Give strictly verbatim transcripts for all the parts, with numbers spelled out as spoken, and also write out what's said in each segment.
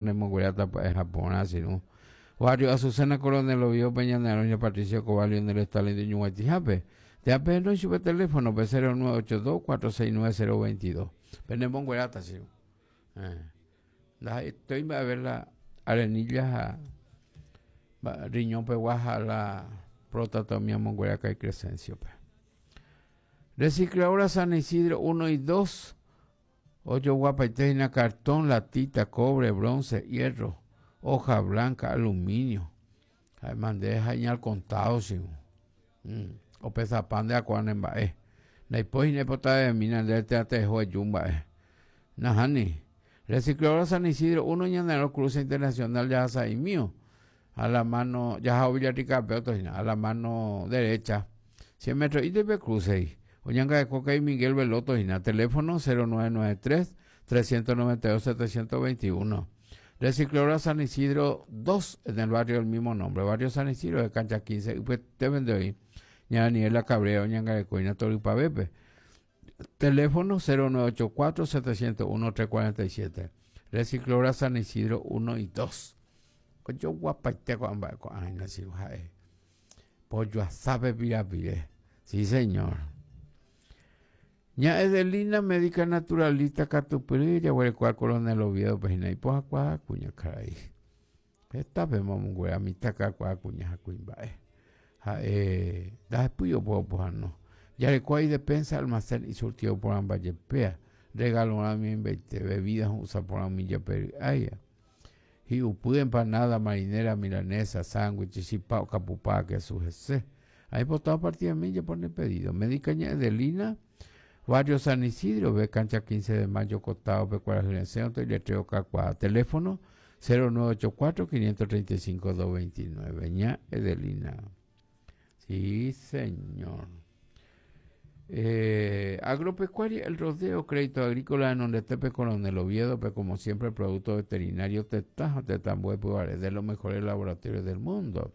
Nemonguerata Japón, sino Barrio Azucena, Coronel Oviedo, Peña Neroña, Patricio Cobalio, en el Stalin de Ñuguatijape. Te apeno su teléfono P cero nueve ocho dos cuatro seis nueve cero veintidós. Penemonguerata, sí. Eh. Estoy a ver la arenilla, riñón peguaja, la próstata mongueraca y Crescencio. Recicladora San Isidro uno y dos. Ocho guapaitena, cartón, latita, cobre, bronce, hierro, hoja blanca, aluminio. Además, deja al contado, sí. Mm. O pesa pan de acuanemba, eh. Naipoy nepota de mina de teatejo de yumba, eh. Nahani. Recicladora San Isidro uno, Ñanero, Cruce Internacional, ya y mío. A la mano, ya Villarrica, pero a la mano derecha. cien metros y de cruce. Oñanga de Coca y Miguel Veloto, y teléfono cero nueve nueve tres, trescientos noventa y dos, setecientos veintiuno. Recicladora San Isidro dos, en el barrio del mismo nombre, barrio San Isidro de Cancha quince, y pues te vende hoy. Ña Daniela Cabrera, Oñanga de Coina, Toripa Bepe. Teléfono cero nueve ocho cuatro, setecientos uno, trescientos cuarenta y siete. Recicladora San Isidro uno y dos. Ocho guapaiteco, amba, ay, no, sí, ay. Pollo asabe, pira, pire. Sí, señor. Ña Edelina, médica naturalista, Catupiri, ya huele cual Coronel Oviedo, pues, y poja cuá, cuña, caray. Esta vez, mamá, a mitad acá, cuá, cuña, jacuimba, eh. Ja, eh, da después puedo pojar, no. Ya le cuá y despensa, almacén y surtido por ambas yepea. Regalo a mi veinte, bebidas usa por a mi yepe, ay, ya. Y upu empanada, marinera, milanesa, sándwich, chipao, capupá, que su G C. Ahí por toda partida de mí ya pone pedido. Médica Ña Edelina, Barrio San Isidro, ve cancha quince de mayo, costado, ve cuál es el centro y letreo Cacuá. Teléfono cero nueve ocho cuatro, quinientos treinta y cinco, doscientos veintinueve. Ña Edelina. Sí, señor. Eh, agropecuaria, el rodeo, crédito agrícola en donde tepe Coronel Oviedo, pero como siempre, producto veterinario, tetajo, tetambue, pubares, de los mejores laboratorios del mundo.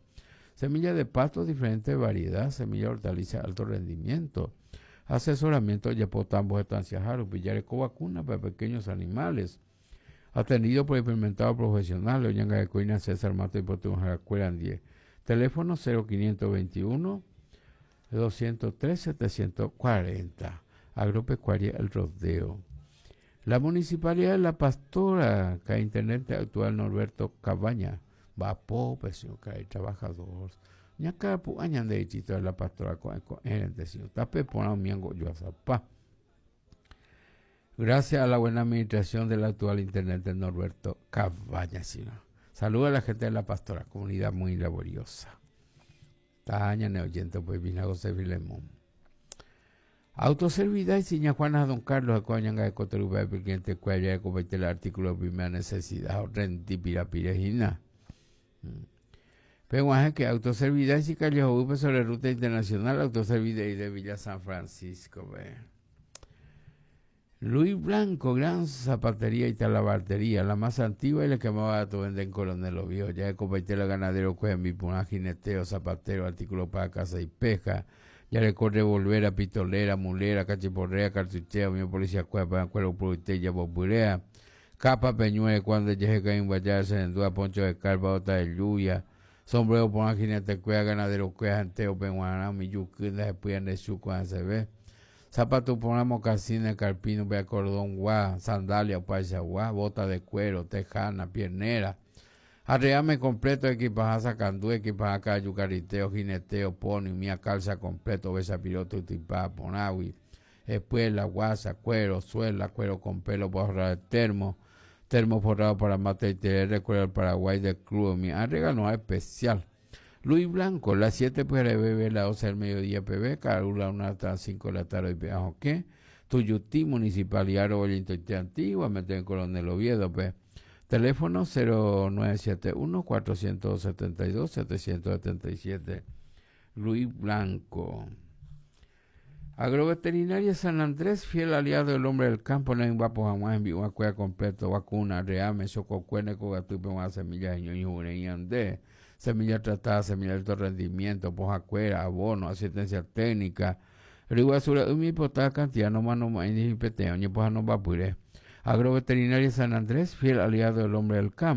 Semilla de pasto, diferente variedad, semilla hortaliza, alto rendimiento. Asesoramiento, yepotambo, estancia, jaro, pillareco, vacuna para pequeños animales. Atendido por experimentado profesional, Oñanga de Coina, César Mato y Potún, Jaracueran diez. Teléfono cero quinientos veintiuno, doscientos tres, setecientos cuarenta. Agropecuaria El Rodeo. La Municipalidad de La Pastora, que intendente actual Norberto Cabaña, va pobre, señor, que hay trabajador. Ñaca pu añan de distrito de La Pastora con con el señor. Tape por un miango yo a zapá. Gracias a la buena administración del actual intendente Norberto Cabaña, señor. Saluda a la gente de La Pastora, comunidad muy laboriosa. Taña neoyente, pues vino a José Filemón. Autoservida y Siña Juana Don Carlos, Coñanga de Cotorupa, de Piquente, Cuella, de Copete, el artículo de primera necesidad, renti, pirapirejina. Pero es que autoservida y Sicario Upe sobre ruta internacional, autoservida y de Villa San Francisco, ve. Luis Blanco, gran zapatería y talabartería, la más antigua y la que más barato vende en Coronel Oviedo. Ya de Copaitela, ganadero, cueva, mi puná, jineteo, zapatero, artículo para casa y pesca. Ya le corre volver a pistolera, mulera, cachiporrea, cartucheo, mi policía, cueva, para cuero, purite, boburea, capa, peñuela, cuando llegue caen guayar, se endúa, poncho de carpa, bota de lluvia, sombrero, puná, jinete, cueva, ganadero, cueva, janteo, penguaná, mi yuquina, se puyan de su, cuando se ve. Zapato por una mocasina, carpino, vea cordón, guá, sandalia, paisa, guá, bota de cuero, tejana, piernera. Arreame completo, equipaja sacandú, equipaja cayu, cariteo, jineteo, pony, mía calza completo, besa piloto, tipá, ponawi, espuela, guasa, cuero, suela, cuero con pelo, borra de termo, termo forrado para mate y T R, cuero del Paraguay del club, mi arregalo especial. Luis Blanco, las siete P R B B, las doce del mediodía P B, Carula, una hasta las cinco de la tarde, y P ¿qué? Tuyutí, Municipalidad Robolito Antigua, mete en Coronel Oviedo, P. Teléfono cero nueve siete uno, cuatrocientos setenta y dos, setecientos setenta y siete. Luis Blanco. Agroveterinaria San Andrés, fiel aliado del hombre del campo, no hay un vapo jamás en vivo, cueva completo, vacuna, reame, sococuene, cogatupe, una semilla de ñoño, jureña, andé, semilla tratada, semilla de alto rendimiento, pojacuera, abono, asistencia técnica, riguazura, umi potada cantidad, no mano, ni peteo, ni poja no vapure. Agroveterinaria San Andrés, fiel aliado del hombre del campo.